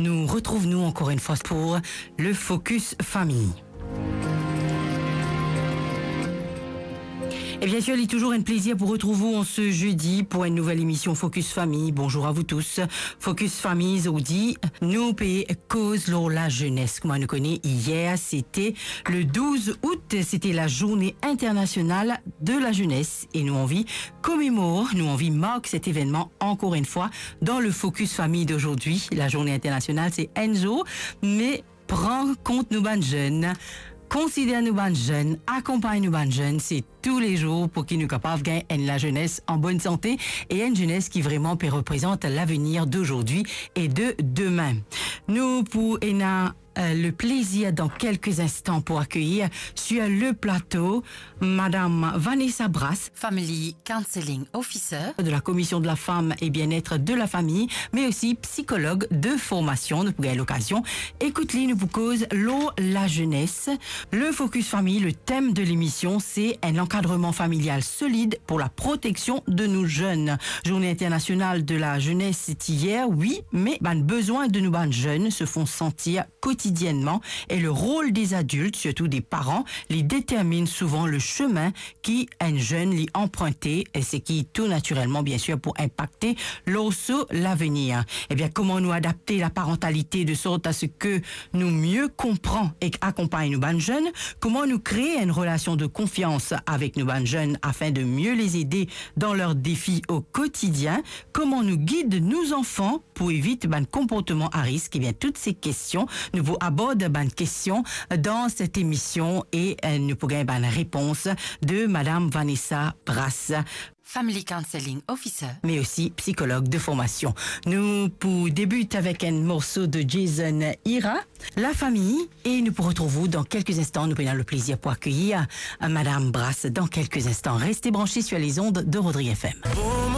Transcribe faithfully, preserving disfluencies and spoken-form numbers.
Nou retrouv nou ankor enn fwa pou le Focus Famille. E bien sir, li touzour enn plezir pou retrouv ou an se zedi pou enn nouvel emision Focus Famille. Bonzour a vou tous. Focus Famille, zordi, nou pe koz lor lazenes. Kouma nou kone, yer, sete le douz out, sete la Journée Internationale de la Jeunesse. E nou anvi komemor, nou anvi mark set evennman ankor enn fwa dan le Focus Famille d'aujourd'hui. La Journée Internationale, se enn zour, me pran kont nou bann zenn, konsider nou bann zenn, akonpagn nou bann zenn, se toulezour pou ki nou kapav gagn enn lazenes an bonn sante e enn zenes ki vreman pe reprezant lavenir d'aujourd'hui et de demain. Nou pou ena, euh, le plezir dan kelke instan pou akeyir sur le plato Madame Vanessa Brass, Family Counseling Officer de la Commission de la Femme et Bien-être de la Famille, mais aussi psychologue de formation. Nou pou gagn lokazion ekout li, nou pou koz lor lazenes. Le Focus Famille, le thème de l'émission, c'est un encadrement familial solide pour la protection de nos jeunes. Journée internationale de la jeunesse, c'est hier, oui, mais bann bezwin de nou bann zenn se font sentir quotidiennement et le rôle des adultes, surtout des parents, li détermine souvent le chemin ki enn zenn li anprinte, e seki tou natirelman, bien sir, pou inpakte lor so lavenir. E bien, kouma nou adapte la parantalite de sort a se ke nou mie konpran ek akonpagn nou bann zenn? Kouma nou kree enn relasion de konfians avek nou bann zenn afin de mieux les aider dans leurs défis au quotidien? Kouma nou gid nou zanfan pou evit bann konportman a risk? Ebien, tout se kestion, nou pou abord bann kestion dan set emision e, euh, nou pou gagn bann repons de Madame Vanessa Brass, Family Counseling Officer, mais aussi psychologue de formation. Nou pou debit avek enn morso de Jason Ira, La Famille, e nou pou retrouv ou dan kelke instan. Nou pou ena le plezir pou akeyir, euh, Madame Brass dan kelke instan. Reste branche sur les ondes de Rodrigue F M.